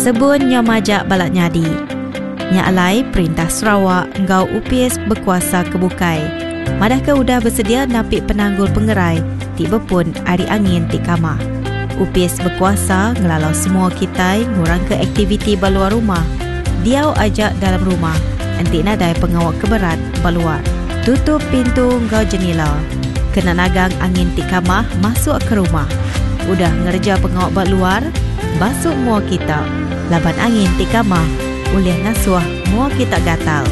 Sebun nyau majak balat nyadi. Nya alai perintah Sarawak enggau opis bekuasa ke bukai madahka udah besedia napi penanggul pengerai ti bepun ari angin ti kamah. Opis bekuasa ngelalau semua kitai ngurangka aktiviti ba luar rumah, diau aja dalam rumah enti nadai pengawa ke berat ba luar. Tutup pintu enggau jenila kena nagang angin ti kamah masuk ke rumah. Udah ngereja pengawa ba luar, basu mua kita laban angin ti kamah ulih ngasuh mua kita gatal.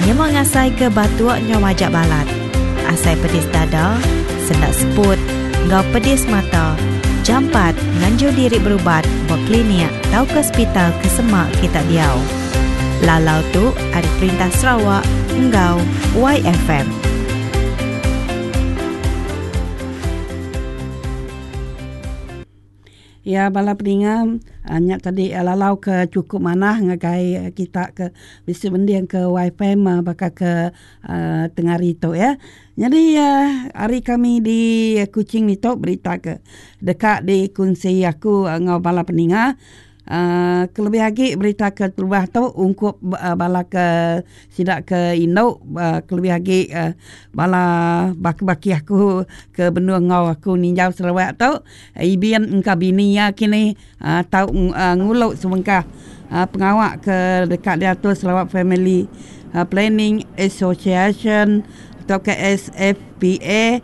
Nyema ngasaika batuk nyau majak balat, asai pedis dada, senda seput enggau pedis mata, jampat nganjung diri berubat ba klinik tauka sepital ke semak kita diau. Lalau tu ari Perintah Sarawak enggau YFM. Iya bala peninga nya tadi lalau ke chukup manah ngagai kita ke bisi mending ke YFM baka ke tengah hari tu ya. Nyadi hari kami di Kuching ditu berita ke deka dikunsi aku enggau bala peninga. Aaa kelebih agi berita ke terubah tu ungkup bala ke sida ke indu kelebih agi bala baki-baki aku ke benung enggau aku ninjau Sarawak tu ibin engka bini iya kini aaa tau ngulu sebengkah pengawa ke deka diatur Sarawak Family Planning Association tauka SFPA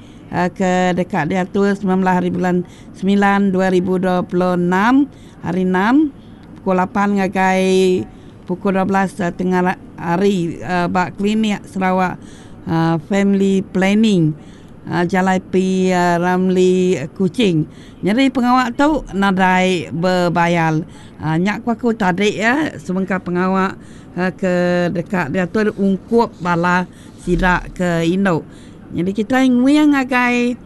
ke deka diatur 19 hari bulan semilan 2026. Hari Enam, pukul lapan ngagai pukul 12 tengah hari ba Klinik Sarawak Family Planning, Jalai P. Ramlee Kuching. Nyadi pengawa tu nadai bebayar. Nya ku aku tadi sebengkah pengawa ke deka diatur ungkup bala sida ke indu. Nyadi kitai nguing ngagai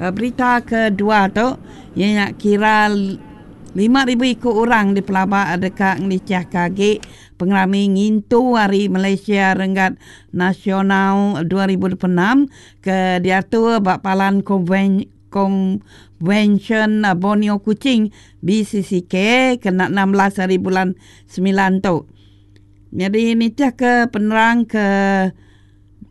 Berita kedua tu iya nya kira 5000 iku orang dipelaba deka ngelichahka agi pengerami ngintu Hari Malaysia Renggat Nasional 2026 ke diatur ba Palan Konvensyen Borneo Kuching, BCCK, kena 16 hari bulan semilan tu. Nyadi nitihka penerang ke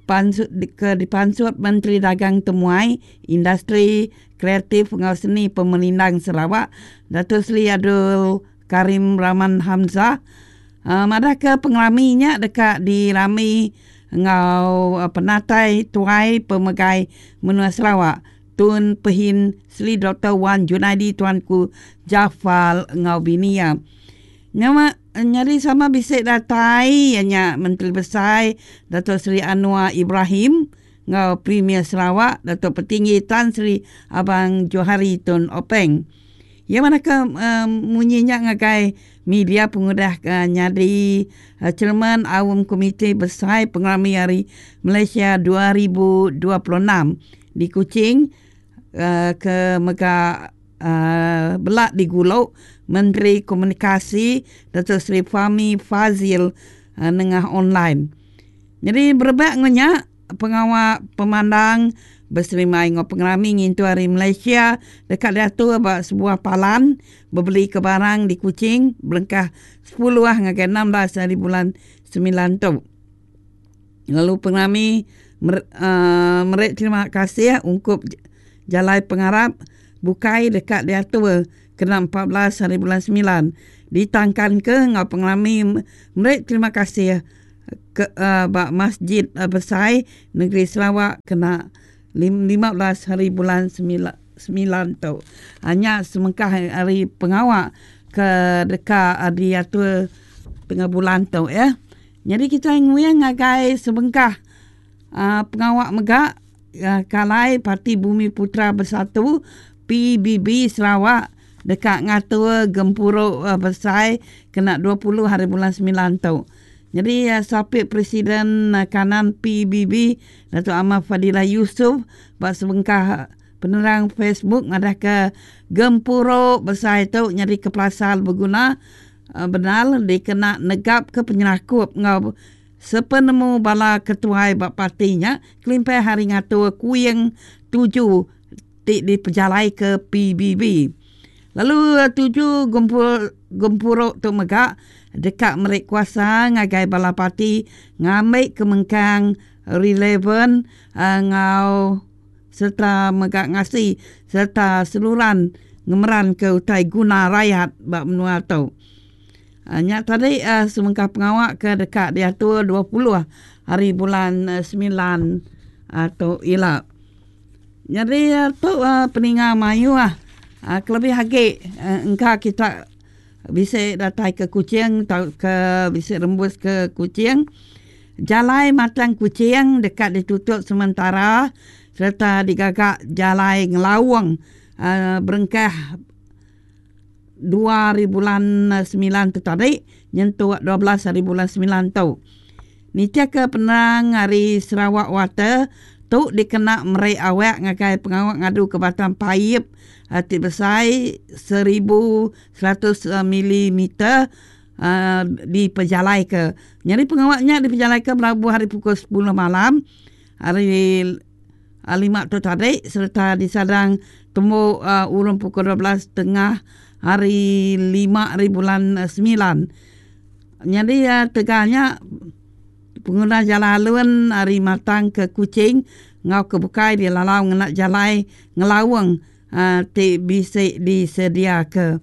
Pansut ke dipansut Menteri Dagang Temuai, Industri Kreatif enggau Seni Pemerindang Sarawak, Dato Sri Abdul Karim Rahman Hamzah, madahka pengerami nya deka dirami enggau penatai Tuai Pemegai Menua Sarawak, Tun Pehin Sri Doktor Wan Junaidi Tuanku Jaafar enggau bini iya. Nya nyadi sama bisi datai iya nya Menteri Besai Datuk Seri Anwar Ibrahim enggau Premier Sarawak Datuk Patinggi Tan Sri Abang Johari Tun Openg. Iya madahka munyi nya ngagai media pengudah nyadi Chairman Aum Komiti Besai Pengerami Hari Malaysia 2026 di Kuching ke mega Bela digulu Menteri Komunikasi Datuk Seri Fahmi Fadzil nengah online. Nyadi berebak enggau nya, pengawa pemandang beserimbai enggau pengerami ngintu Hari Malaysia deka diatur ba sebuah palan bebelika barang di Kuching berengkah sepuluh ngagai 16 hari bulan semilan tu. Lalu pengerami meri terima kasih ungkup jalai pengarap bukai deka diatur kena 14 hari bulan semilan ditangkanka enggau pengerami meri terima kasih ke ba Masjid Besai Negeri Sarawak kena 15 hari bulan semilan tu. Nya semengkah ari pengawa ke deka diatur tengah bulan tu ya. Nyadi kitai nguing ngagai sebengkah pengawa mega ke alai Parti Bumiputera Bersatu, PBB, Sarawak deka ngatur gempuru besai kena 20 hari bulan semilan tu. Nyadi Sapit Presiden Kanan PBB Datuk Amar Fadillah Yusof ba sebengkah penerang Facebook madahka gempuru besai tu nyadika pelasar beguna Bendar dikena negapka penyerakup enggau sepenemu bala ketuai ba parti nya kelimpah ari ngatur kuing tuju ti dipejalaika PBB. Lalu tuju gempuru gempuru tu mega deka meri kuasa ngagai bala parti ngambi ke mengkang relevan enggau sereta mega ngasi sereta seruran ngemeranka utai guna rayat ba menua tu. Nya tadi sebengkah pengawa ke deka diatur 20 hari bulan semilan tu ila. Nyadi tu peninga mayuh kelebih agi engka kita bisi datai ke Kuching tauka bisi rembus ke Kuching. Jalai Matang Kuching deka ditutup sementara sereta digaga jalai ngelaung berengkah dua hari bulan semilan tu tadi nyentuk 12 hari bulan semilan tu. Nitihka penerang ari Sarawak Water, tu dikena meri awak ngagai pengawa ngaduka batang paip ti besai 1100 milimeter dipejalaika. Nyadi pengawa nya dipejalaika belabuh ari pukul sepuluh malam hari lima tu tadi sereta disadang tembu urung pukul 12 tengah hari lima hari bulan semilan. Nyadi tegal nya penguna jalai alun ari Matang ke Kuching enggau ke bukai dilalau ngena jalai ngelaung ti bisi disediaka.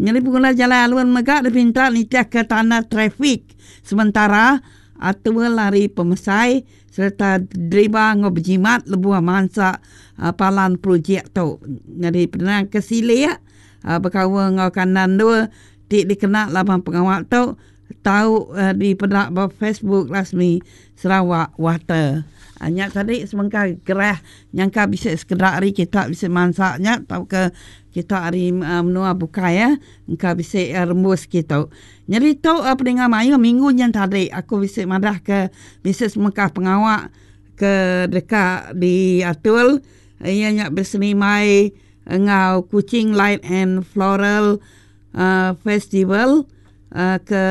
Nyadi penguna jalai alun mega dipinta nitihka tanda trafik sementara atur ari pemesai sereta deriba enggau bejimat lebuh mansa palan projek tu. Nyadi penerang ke silik bekaul enggau kandang endur ti dikena laban pengawa tu tau dipeda ba Facebook rasmi Sarawak Water. Nya tadi sebengkah gerah nyangka bisi sekeda ari kita bisi mansa nya tauka kita ari menua bukai engka bisi rembus kitu. Nyadi tu peninga mayuh minggu nyin tadi aku bisi madah ke bisi semekah pengawa ke deka diatur iya nya besenimbai enggau Kuching Light and Floral Festival ke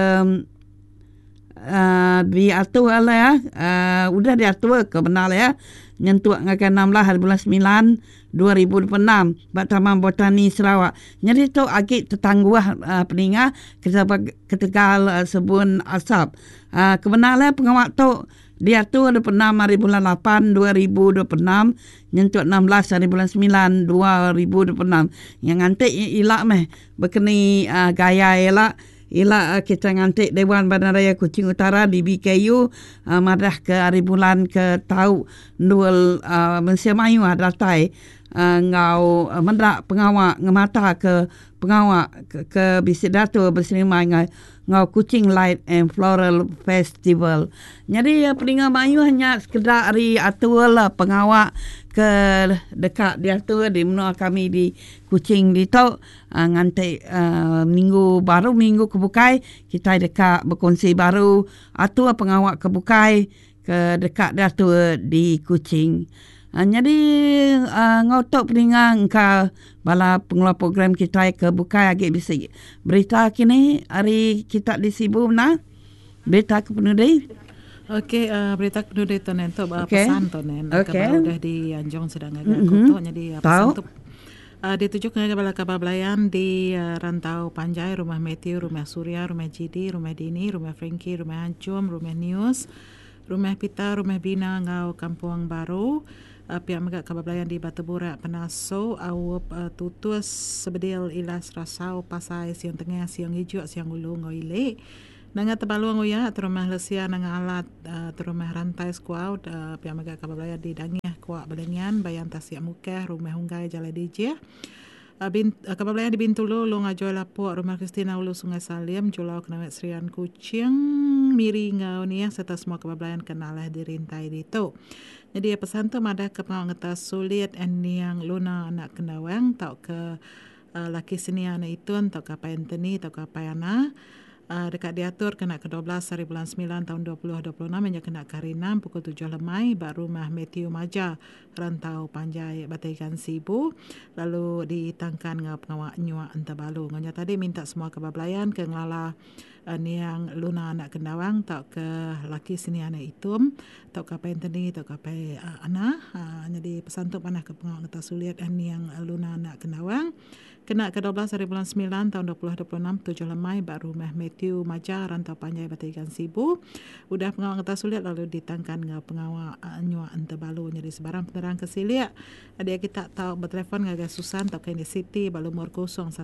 diatur alai udah diatur ke bendar iya nyentuk ngagai 16 hari bulan semilan 2026 ba Taman Botani Sarawak. Nyadi tu agi tetangguh peninga ketegal sebun asap. Kebendar iya pengawa tu diatur 26 hari bulan 8 2026 nyentuk 16 hari bulan 9 2026. Nya nganti ila meh bekeni gaya ila. Ila kita nganti Dewan Bandaraya Kuching Utara DBKU madah ke hari bulan ke tau endul mensia mayuh datai enggau meda pengawa ngemata ke pengawa ke bisi diatur beserimbai enggau Kuching Light and Floral Festival. Nyadi peninga mayuh nya sekeda ari atur pengawa ke deka diatur di menua kami di Kuching ditu. Nganti minggu baru minggu ke bukai kitai deka bekunsi baru atur pengawa ke bukai ke deka diatur di Kuching. Nyadi enggau tu peninga engka bala pengeluar program kitai ke bukai agi bisi berita kini ari kita di Sibu mena berita ke penudi. Okey berita ke penudi tu nen tu pesan tu nen ke baru udah dianjung sida ngagai aku tu nyadi pesan tu. Dituju ngagai bala kaban belayan di Rantau Panjai, Rumah Mathew, Rumah Surya, Rumah Jidi, Rumah Dini, Rumah Frankie, Rumah Anchum, Rumah News, Rumah Pita, Rumah Bina enggau Kampung Baru. Pia mega kaban belayan di Batu Burak, Penasu, Aup, Tutus, Sebedil, Ilas, Rasau, Pasai, Siong Tengah, Siong Ijuk, Siong Ulu enggau Ili. Nanga Tebalung Uya, Terumah Lesia, Nanga Alat, Terumah Rantai Sekuau, pia mega kaban belaya di Dangih, Kuak Belengian, Bayan Tasik Mukah, Rumah Unggai, Jalai Dijih. Kaban belaya di Bintulu, Long Ajoi Lapok, Rumah Christina Ulu Sungai Salim, Julau Kenawit Serian Kuching, Miri enggau Niah sereta semua kaban belayan ke nalah dirintai ditu. Nyadi pesan tu madah ke pengawa ngetas sulit Niang Luna anak Kendawang tauka Laki Senia anak Itun tauka Apai Anthony tauka Apai Ana. Deka diatur kena ke 12 hari bulan semilan taun 2026 inya kena ke hari enam pukul tujuh lemai ba Rumah Mathew Maja, Rantau Panjai, Batang Igan Sibu lalu ditangkan enggau pengawa nyuak entabalu. Enggau nya tadi minta semua kaban belayan ke ngelala niang Luna anak Kendawang tauka laki seni anak Itum tauka Apai Anthony tauka Apai Ana nyadi pesan tu manah ke pengawa ngetas ulit niang Luna anak Kendawang. Kena ke 12 hari bulan 9 tahun 2026 7 lemai ba rumah Matthew Maja Rantau Panjai Batu Igan Sibu. Udah pengawa ngetas ulit lalu ditangkan enggau pengawa nyua entebalu nyadi sebarang penerang ke silik. Dia kita tau betelefon ngagai Susan tauka Ini Siti ba lumur 011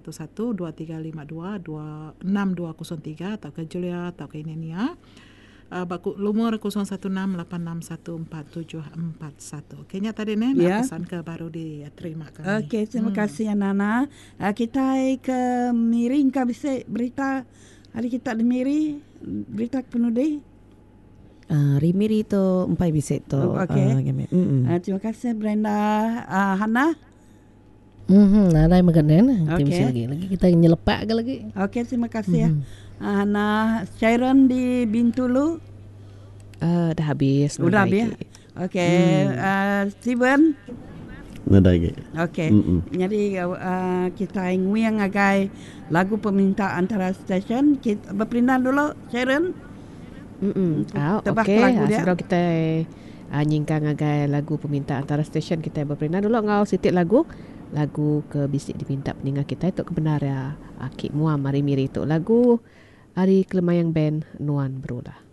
2352 6203 tauka Julia tauka Ini Nia ba lumur 016 861 4741. Okey nya tadi neh yeah. pesan ke baru diterima kami. Okey terima kasih Nana. Kita ke Miri engka bisi berita hari kita di Miri berita ke penudi. Ari Miri tu empai bisi tu. Oh, okey. Terima kasih Brenda. Hana. Nadai mega nen. Okey. Bisi lagi. Lagi kita nyelepak ke lagi. Okey, terima kasih. Hana Sharon di Bintulu. Dah habis. Udah habis. Okey, Steven. Nadai lagi. Okey. Jadi kita nguing ngagai lagu peminta antara stesen. Kita berperindang dulu Sharon. Tebah ke lagu dia. Sebelum kita nyingkang ngagai lagu peminta antara stesen kita berperindang dulu enggau siti lagu lagu ke bisi dipinta peninga kita tu ke bendar iya aki muam ari miri tu lagu ari Kelemayang Band Nuan Berulah.